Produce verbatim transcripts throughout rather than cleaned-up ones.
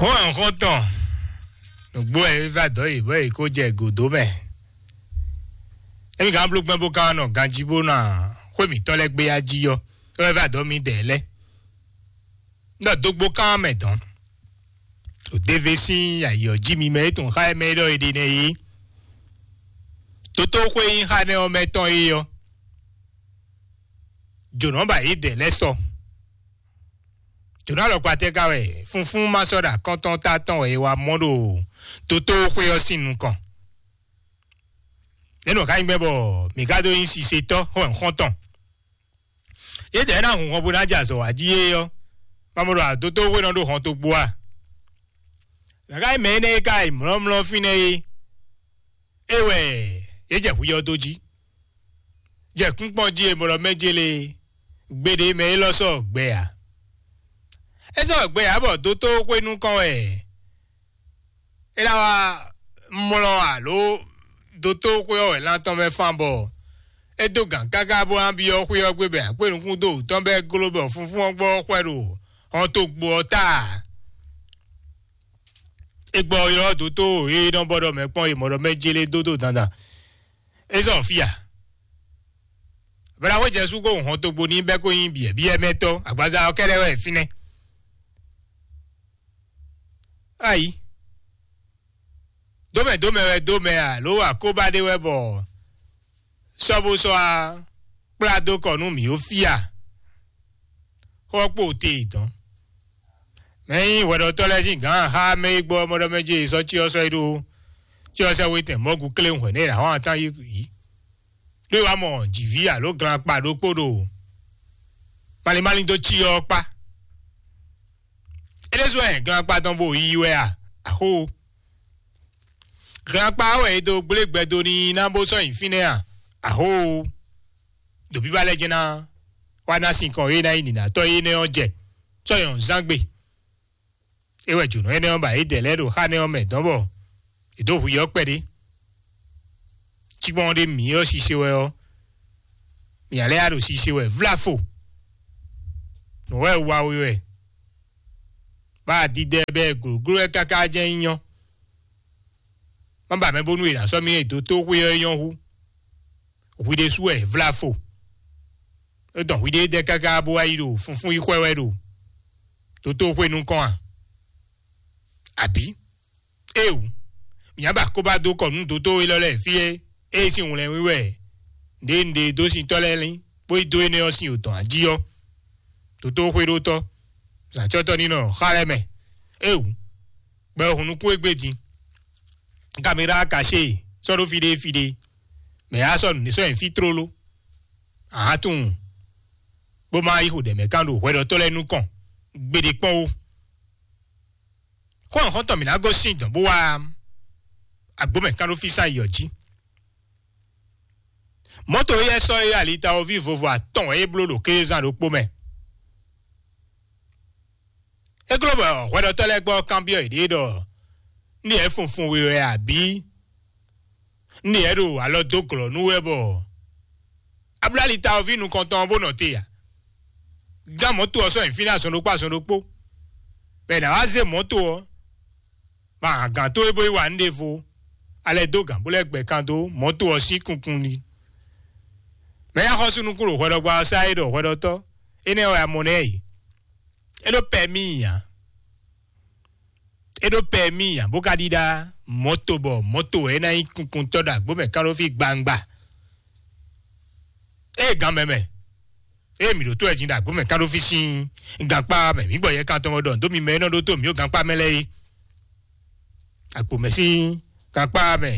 Hɔn xɔntɔn, nǔgbó wɛ é va dɔ̌ yi bɔ é kó jɛ gǒdó mɛ. Emi gǎn bló gbɛn bó ka nɔ ganjí bó ná xwé mǐtɔn lɛ́ɛ gbé yá jí ɔ́, é wɛ va dɔ̌ mi dɛ̌ lɛ́ɛ. Nɔ dógbó kán mɛ dɔn. Òdévé sín ayǐ ɔ́ jí mi mɛ é tun xá ɛ mɛ é ɖɔ é ɖe nɛ é. Tótó xwé nyí xá nɛ ɔ́ mɛ tɔn é ɔ́. Jǒnɔ ba yě dɛ̌ lɛ́ɛ sɔ. Jǒnɔ alɔkpa tɛ́ ka wɛ fúnfún ma sɔ́ ɖo akɔ́ntɔn ta tɔn wɛ é wá mɔ ɖo tótó xwé ɔ́ sín nukɔn. Nɛ̌ nɔ ka nyí gbɛ́ bɔ mǐ ka dó nyí sisetɔ́ xɔ́ntɔn? Yě dɛ̌ ná hun hɔn bó ná jɛ azɔ̌ wá jí é ɔ́, ma mɔ ɖɔ adótó xwé nɔ ɖó hɔn togbo a? Gǎgá mɛ énɛ́ e ka yi mlɔ́mlɔ́ fínɛ́ é, é wɛ yě jɛ hwi ɔ́ dó jí. Jɛ kúnkpɔ́n jí e mɔ ɖɔ mɛ jélé gbeɖé mɛ élɔ́ sɔ́ gbɛ ǎ. É sɔ́ gbɛ ǎ bɔ dótó xwé nukɔn wɛ é ná wá mlɔ́ alo dótó xwé ɔ́ wɛ lan tɔn mɛ fan bɔ é dó gǎn káká bó ná byɔ́ xwé ɔ́ gbé bɔ akpé nukún dó wǔtɔ́n bɔ é gló bɔ fúnfún ɔ́ gbɔ xwɛ ɖo hɔn togbo ɔ́ ta. É gbɔ ylɔ́ dótó e nɔ bɔ ɖɔ mɛ kpɔ́n e mɔ ɖɔ mɛ jélé dó dó dandan. É zɔ fí a? Bɛlɛxwé Jezu ko hɔn togbo ní bɛ́ kó nyí biɛ̌biɛ́mɛtɔ́ agbaza ɔ́ kɛ́ɖɛ́ wɛ fínɛ́. Ayi, dómɛ dómɛ wɛ dómɛ alo akóbá ɖé wɛ bɔ sɔ́ bó sɔ́ á kplá dó kɔ nú mǐ ó fí a? Xɔ kpo te dɔn. Mɛ nyí hwɛɖɔtɔ́ lɛ́ɛ sín gǎn xá mɛ e gbɔ mɔɖɔmɛ ce sɔ́ cyɔ sɔ́ yi ɖó cyɔ sɛ́ wetɛn mɔ̌gu kléwún hwɛ̌ nɛ è nǎ hɔn atán yí yǐ. Ɖó é wá mɔ jǐví alo glan kpa ɖokpó ɖo malín malín dó cyɔ ɔ́ kpá. É ɖésú wɛ glan kpa tɔn bo yiyi wɛ a? Axó. Glan kpa wɛ è dó gblé gbɛ dó n'i ná bó sɔ́ nyi fínɛ́ a? Axó. Ɖo bíbá lɛ́ɛ jɛ́n ná wá ná sinkɔn e ná nyí nǐnátɔ́ énɛ́ ɔ́ jɛ sɔ́ nyɔ̌nuzángbe. É wɛ jǒnɔ énɛ́ ɔ́ ba yě dɛ lɛ́ɛ ɖo xá nɛ́ ɔ́ mɛ dɔn bɔ è dǒ hu yɛ ɔ́ kpɛɖé. Cikpɔ́n ɖé mǐ ɔ́ sise wɛ ɔ́, mǐ ǎ lɛ́ ya ɖo sise wɛ vláfo. Nǔ wɛ wa we wɛ. Bá a didɛ bɛ́ glǒgló wɛ káká jɛ́n nyí nyɔ́. Má ba mɛ bónú è nǎ sɔ́ mì e dó tó xwé ɔ́ nyɔ́ hú. Hwi ɖésú wɛ vláfo. É dɔn hwi ɖé dɛ káká bó wá yi ɖo funfún yi xwɛ wɛ ɖo dótó xwé nukɔn a? Abǐ? Éewu, mǐ á ba kó ba dó kɔ nú dótó élɔ́ lɛ́ɛ fí é, ée sín wlɛ́nwí wɛ ɖě un ɖe dó sintɔ́ lɛ́ɛ lín, bó yi dó énɛ́ ɔ́ sín yǒtɔn jí ɔ́. Dótó xwéɖótɔ́, zǎncɔ́tɔ́ ní nɔ xá lɛ́ɛ mɛ. Éewu, gbɛ ɔ́ hun nukún égbé din. Kaméra kaṣé sɔ́ ɖó fí ɖé fí ɖé, mɛ yá sɔ́ nǔɖé sɔ́ nyi fí tlóló. Ahan tunwun, bó má yi xo ɖɛ mɛ kán ɖo hwɛɖɔtɔ́ lɛ́ɛ nukɔn gbeɖé kpɔ́n ó. Xó xɔ́ntɔn mǐ ná gosín dɔ̌n bó wá agbǒ mɛ kán ɖó fí sán yi ɔ́ jí. Mɔ̌to éyɛ́ sɔ́ é alitawoví vovo atɔn wɛ é bló ɖo kézán ɖokpó mɛ. É gló bɔ hwɛɖɔtɔ́ lɛ́ɛ gbɔ kanbyɔ́ yěɖée ɖɔ: "Ní yɛ funfun we wɛ abǐ? Ní yɛ ɖo alɔ dó glɔ̌ nú wɛ bɔ Abláli tawoví nukɔntɔn ɔ́ bó nɔ te a?" Gán mɔ̌to ɔ́ sɔ́ nyi fínɛ́ azɔn ɖokpó azɔn ɖokpó, bɔ è nǎ wá zé mɔ̌to ɔ́, ma hǎn gǎn towe bó yi wa nǔ ɖěvo, alɛ dó gǎn bó lɛ́ gbɛ kan dó mɔ̌to ɔ́ sín kunkun ní. Mɛ e axɔ́sú nukún ɖo hwɛɖɔgba ɔ́ sá é ɖɔ hwɛɖɔtɔ́ énɛ́ wɛ a mɔ nɛ́ e? É ɖó pɛmíi ǎ. É ɖó pɛmíi ǎ, bó ka ɖíɖá mɔ̌to bɔ mɔ̌to wɛ é ná nyí kunkuntɔ́ ɖo agbǒ mɛ kán ɖó fí gbangba. Ée gǎn mɛ mɛ, ée mǐ ɖǒtó wɛ din ɖo agbǒ mɛ kán ɖó fí sín gankpá mɛ, mǐ gbɔ yɛ kan tɔn ɖɔ dó mi mɛ e nɔ ɖótó mǐ ɖo gankpá mɛ lɛ́ɛ é. Agbǒ mɛ sín gankpá mɛ,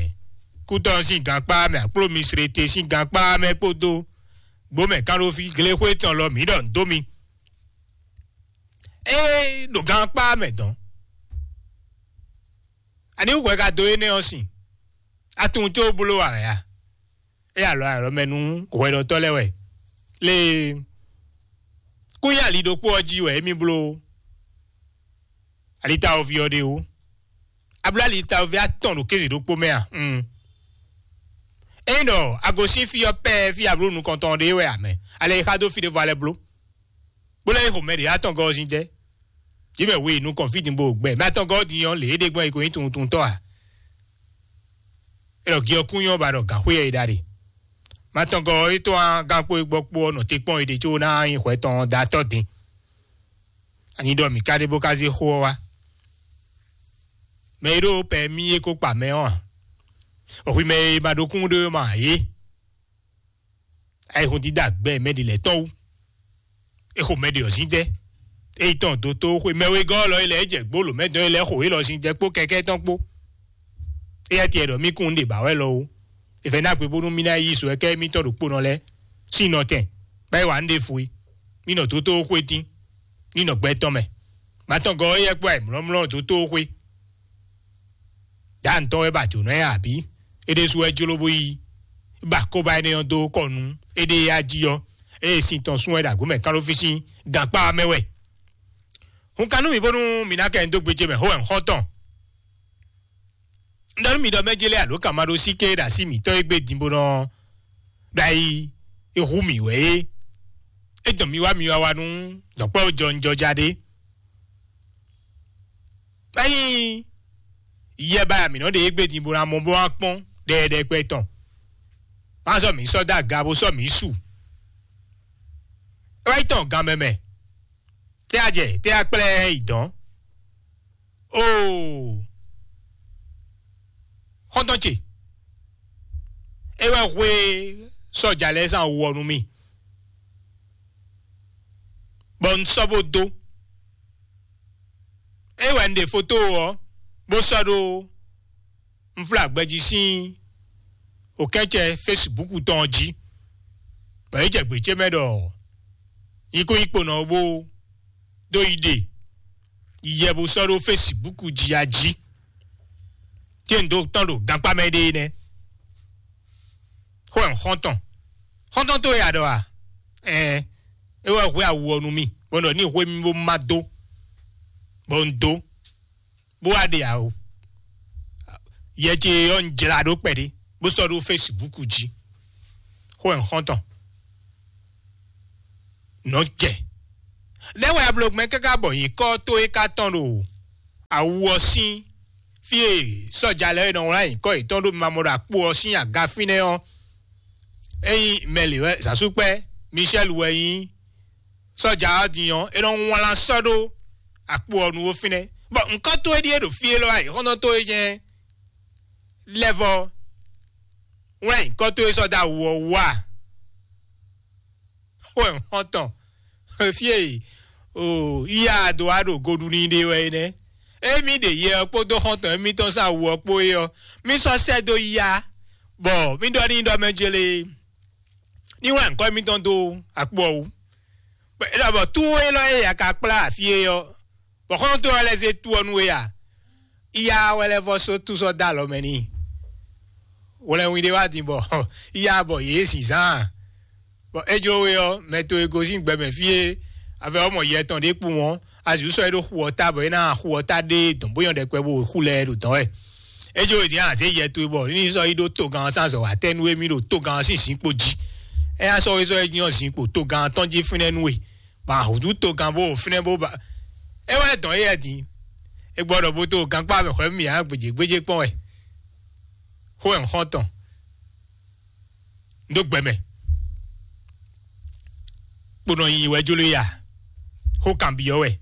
kútɔ́ sín gankpá mɛ, akpló mi srete sín gankpá mɛ kpódó gbǒ mɛ kán ɖó fí glexwé tɔn lɔ mǐ ɖɔ nǔ dó mi. Ée ɖo gankpá mɛ dɔn, ani wú hwɛ ka dó énɛ́ ɔ́ sin? Atun có bló ǎ wɛ a? É alɔ alɔ mɛ nú hwɛɖɔtɔ́ lɛ́ɛ wɛ. Lée kún nyi ali ɖokpó ɔ́ jí wɛ émí bló alitawoví ɔ́ ɖe ó. A bló alitawoví atɔn ɖo kéze ɖokpó mɛ a? Un. Ényí ɖɔ a gosín fí ɔ́ pɛ́ɛ fí a bló nukɔntɔn ɖé wɛ a mɛ, alɛ e xa dó fí ɖěvo a lɛ́ bló, bó lɛ́ yi xo mɛ ɖě atɔn gɔ́ ɔ́ sín jɛ. Jǐ mɛ we nukɔn fí din bo gbɛ. Mɛ atɔngɔ́ din ɔ́, lě é ɖe gbɔn é ko nyí tuntuntɔ́ ǎ. É ɖɔ gi ɔ́ kún nyɔ́ ba ɖɔ gǎnxwé ɛ yi ɖa ɖe. Mɛ atɔngɔ́ é tɔ́n á gán kpó é gbɔ kpó ɔ́ nɔ te kpɔ́n é ɖe có ná nyí hwɛ tɔn da tɔ́ din. Ani ɖɔ mǐ ka ɖe bó ka zé xó ɔ́ wá. Mɛ e ɖó pɛ mí é ko kpa mɛ ɔ́ ǎ. Bɔ hwi mɛ e ma ɖó kún ɖó é ma ǎ é. Ayihun dídá gbɛ mɛ ɖi lɛ́ tɔn wú. É xo mɛ ɖi ɔ̀zín dɛ́. É yi tɔn dó tó xwe mɛ wegɔ́ lɔ é lɛ́ é jɛ gbó lǒ mɛ dɔn é lɛ́ xo é lɔ zín dɛ́ kpó kɛkɛ́ tɔn kpó. Éyɛ́ tiɛ ɖɔ mí kún un ɖe bǎ wɛ lɔ ó. È fɛ́ ná gbe bónú mí ná yí sɔ kɛ́ mítɔn ɖokpónɔ lɛ́ɛ sín nɔtɛn, bá yi wa nú ɖěvo é. Mí nɔ dó tó xwé tín, ní nɔ gbɛ tɔn mɛ. Mátɔngɔ́ éyɛ́ kpó ayǐmlɔ́mlɔ́ dó tó xwé. Dǎ ntɔ́ wɛ ba jǒnɔ ɛ abǐ? É ɖésú wɛ jló bó yi ba kóbá énɛ́ ɔ́ dó kɔ nú éɖée yá jí ɔ́, ée sin tɔn sún wɛ ɖo agbǒ mɛ kán ɖó fí sín gankpá ɔ́ mɛ wɛ. Hun ka nú mì bónú mǐ ná kɛ nyi dó gbéjé mɛ hó wɛ un xɔ́n tɔn. Un ɖɔ nú mi ɖɔ mɛ jélé alo kan ma ɖó sí ké ɖo así mǐtɔn e gbé din bó nɔ ɖo ayi e hu mì wɛ é. É dɔn mi wá mi wá wá nú dɔ̌nkpɛ́ jɔnjɔja ɖé. Ényí yɛ ba mǐ nɔ ɖe égbé din bó ná mɔ bó wá kpɔ́n ɖɛɖɛkpɛ tɔn, má sɔ́ mǐ sɔ́ dó aga bó sɔ́ mǐ su. É wá yi tɔn gan mɛ mɛ. Tɛ́ a jɛ tɛ́ a kplɛ́ yi dɔn? Oo, xɔ́ntɔn ce, é wɛ hwe sɔ́ja lɛ́ɛ sín awu ɔ́ nú mì, bɔ un sɔ́ bó dó. É wɛ un ɖe foto ɔ́ bó sɔ́ ɖó unflágbɛjí sín òkɛ́cɛ Facebook tɔn ɔ́ jí, bɔ é jɛ gbě ce mɛ ɖɔ nyikúnyikponɔ ɔ́ bó dó yi ɖe yi yɛ bó sɔ́ ɖó Facebook jí a jí. Tí un dó tɔn ɖo gankpá mɛ ɖe nɛ́. Xó ɛ xɔ́ntɔn, xɔ́ntɔn tó ya ɖɔ a? Ɛɛ, é wɛ hwɛ awu ɔ́ nú mì, bɔ un ɖɔ ní hwé mì bó má dó, bɔ un dó, bó wá ɖe awo. Yɛ ce ɔ́ un jlá ɖó kpɛɖé, bó sɔ́ ɖó Facebook jí. Xó ɛ xɔ́ntɔn nɔ jɛ. Nɛ́ wɛ a bló gbɛn káká bɔ nyǐkɔ tó é ka tɔn ɖo awu ɔ́ sín fí e sɔ́ja lɛ́ɛ nɔ wlán nyǐkɔ yětɔn ɖó mimamɔ ɖo akpo ɔ́ sín aga fínɛ́ ɔ́? Ényí mɛ lě wɛ zǎnsúkpɛ́ Michel wɛ nyí sɔ́ja ɔ́ din ɔ́, é nɔ wlán sɔ́ ɖó akpo ɔ́ nu ó fínɛ́. Bɔ nǔkɔn towe ɖíe ɖo fí élɔ́ wá yi xɔ́ntɔn towe jɛ́n lɛ́ vɔ́ wlán nyǐkɔ towe sɔ́ dó awu ɔ́ wú a? Xó ɛ xɔ́ntɔn fí e o yíyá do wá ɖo goɖu n'i ɖe wɛ é nɛ́. Émí ɖe yɛ ɔ́ kpódó xɔ́ntɔn émítɔn sín awu ɔ́ kpó é ɔ́, mí sɔ́ sɛ́ dó yá, bɔ mí ɖɔ n'i ɖɔ mɛ jélé ní wlán nyǐkɔ émítɔn dó akpo ɔ́ wú. Bɔ é ɖɔ bɔ tú élɔ́ e a ka kplá afí é ɔ́, bɔ xɔ́ntɔn ɔ́ lɛ́ zé tú ɔ́ nú we a? Iya wɛ lɛ́ vɔ́ só tú sɔ́ dó alɔ mɛ n'i. Wlɛnwin ɖé wá din bɔ iya bɔ yě zǐnzán. Bɔ é jló we ɔ́, mɛ towe gosín gbɛmɛ fí e avɛ ɔ́ mɔ yɛ tɔn ɖé kpowun ɔ́, azǐ sɔ́ é ɖó xu ɔ́ ta bɔ é ná xu ɔ́ ta ɖé dɔn bó nyɔ́ ɖɛkpɛ bó xu lɛ́ɛ ɖo dɔ̌n wɛ. É jló we din azě yɛ towe bɔ ní sɔ́ yi ɖó togán ɔ́ sín azɔ̌ wá tɛ́ nú émí ɖo togán ɔ́ sín zǐnkpo jí. É ná sɔ́ we sɔ́ é nyɔ́ zǐnkpo togán ɔ́ tɔn jí fínɛ́ nú we. Ba hǔzú togán bó fínɛ́ bó ba. É wɛ dɔn éyɛ́ din. É gbɔ ɖɔ bó tó gankpá mɛ xwɛ mì ǎ gbèjègbèjè kpɔn wɛ. Xó ɛ xɔ́ntɔn. Ndó gbɛmɛ. Kponɔ yi wɛ jló ya. Xó kanbyɔ́ wɛ.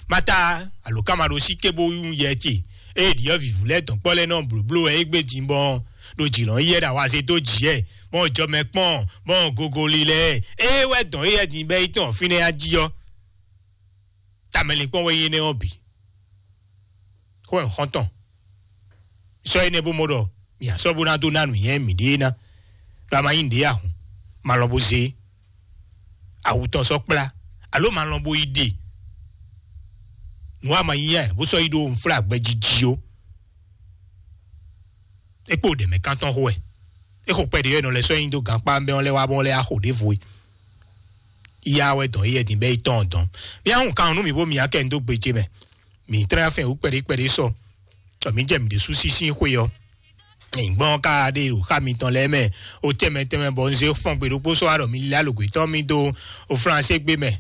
Mata alo kama ɖo sí ké bó yún yɛ ce. Ée ɖiɔ vǐvú lɛ́ɛ dɔn kpɔ́ lɛ́ɛ nɔ blǒbló wɛ é gbé din bɔ ɖo jǐ lɔn yɛ ɖo awaze dó jǐ ɛ, bɔ jɔ mɛ kpɔn, bɔ gogoli lɛ́ɛ. Ée wɛ dɔn éyɛ́ din bɛ́ yi tɔn fínɛ́ ya jí ɔ́. Tamɛlinkpɔ́n wɛ nyí énɛ́ ɔ́ bǐ. Xó ɛ xɔ́ntɔn. Sɔ́ énɛ́ bó mɔ ɖɔ mǐ sɔ́ bó ná dó ná nǔnywɛ́ mǐɖée ná. Ɖɔ a ma nyí nǔɖé ahun, ma lɔ bó zé awu tɔn sɔ́ kplá, alo ma lɔ bó yi ɖe nǔ a ma nyí ɛ bó sɔ́ yi ɖó nflá gbɛjiji ó. É kpo ɖě mɛ kántɔn xo wɛ. É xo kpɛɖé wɛ nɔ lɛ sɔ́ nyi dó gankpá mɛ ɔ́ lɛ wá bɔ lɛ axo ɖěvo é. Iya wɛ dɔn éyɛ́ din bɛ́ yi tɔn dɔn. Mía hun kan nú mǐ bó mǐ akɛ dó gbe ce mɛ. Mǐ tlɛ́ afɛn wú kpɛɖé kpɛɖé sɔ. Tɔ mǐ jɛ mǐ ɖésú sísí xwe ɔ́. Nyǐgbɔn ka ɖe ɖo xá mitɔn lɛ́ɛ mɛ. O tɛmɛ tɛmɛ bɔ un zé fɔn gbe ɖokpó sɔ́ aɖɔ mi lilá lǒgbétɔ́ mi dó o flansé gbé mɛ.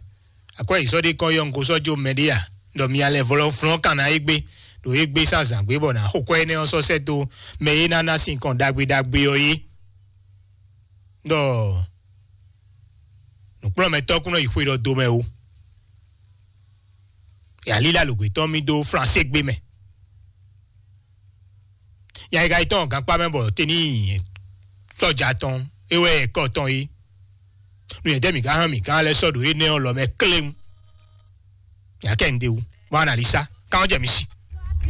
Akwɛ́ yi sɔ́ ɖé kɔn yɔ un ko sɔ́ jó mɛ ɖé a? Ɖɔ mi alɛ vɔlɔ flɔ́n kan ná égbé, ɖo égbé sín azǎn gbé bɔ nǎ xo kwɛ́ énɛ́ ɔ́ sɔ́ sɛ́ dó mɛ e ná ná sin kɔn ɖagbe ɖagbe ɔ́ é. Ɖɔ nǔkplɔ́nmɛtɔ́ kún nɔ yi xwe ɖɔ do mɛ o. Yalílá lǒgbé tɔn mì dó Flansé gbé mɛ. Nya e ka yi tɔn gankpá mɛ bɔ tení sɔ́ja tɔn é wɛ kɔ tɔn é. Nú nyɛ̌dɛ́ mǐ ka hán mǐ gán lɛ́ɛ sɔ́ ɖo énɛ́ ɔ́ lɔ mɛ kléŋ. Mǐ akɛ ŋɖe wú. Bɔ analisa káwọn jɛ mi si.